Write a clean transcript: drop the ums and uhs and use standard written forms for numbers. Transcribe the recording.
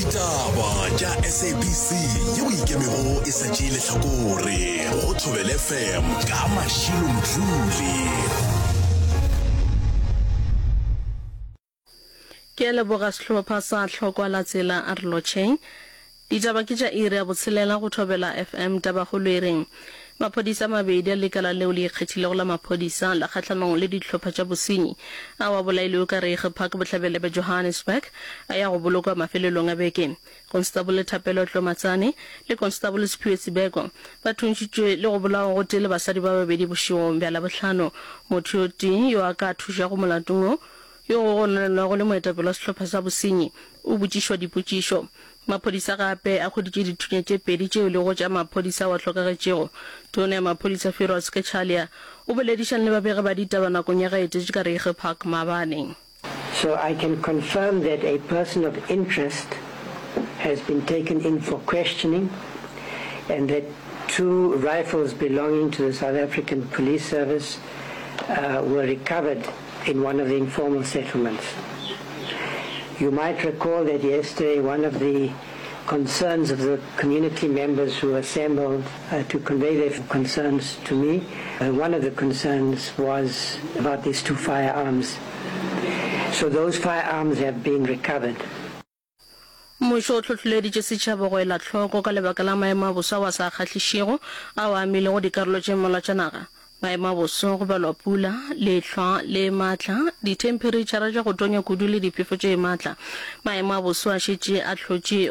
Ditaba tša SABC yeo e ikemego e sa tšee lehlakore go Thobela FM ka Mashilo Mdluli. Ke a leboga sehlopha sa Hlokwa la Tsela a re lotšheng. Ditaba ke tša iri ya botshelela go Thobela FM. Tabakgolo e reng maphodisa a mabedi a lekala leo le ikgethilego la maphodisa la kgahlanong le dihlopha tša bosenyi ao a bolailwego ka Reiger Park bohlabela bja Johannesburg a ya go bolokwa mafelelong a beke. Konstabole Thapelo Tlomatsane le Konstabole Siphiwe Sibeko ba thuntšitšwe le go bolawa gotee le basadi ba babedi bošegong bja Labohlano. Motho yo tee yo a ka thušago molatong wo yo go gononelwago le moetapele wa sehlopha sa bosenyi o botšišwa dipotšišo. Maphodisa gape a hweditše dithunya tše pedi tšeo e lego tša maphodisa ao a hlokagetšego. Tona ya maphodisa Firoz Cachalia o boledišane le babegi ba ditaba nakong ya ge a etetše ka Reiger Park maabane. So I can confirm that a person of interest has been taken in for questioning and that two rifles belonging to the South African Police Service uh, were recovered in one of the informal settlements. You might recall that yesterday one of the concerns of the community members who assembled uh, to convey their concerns to me, uh, one of the concerns was about these two firearms. So those firearms have been recovered. Mmušo o hlohleleditše setšhaba go ela hloko ka lebaka la maemo a boso ao a sa kgahlišego ao a amilego dikarolo tše mmalwa tša naga. Maemo a boso, go balwa pula, lehlwa le matla, dithemphereitšhara tša go tonya kudu le diphefo tše matla. Maemo a boso a šetše a hlotše.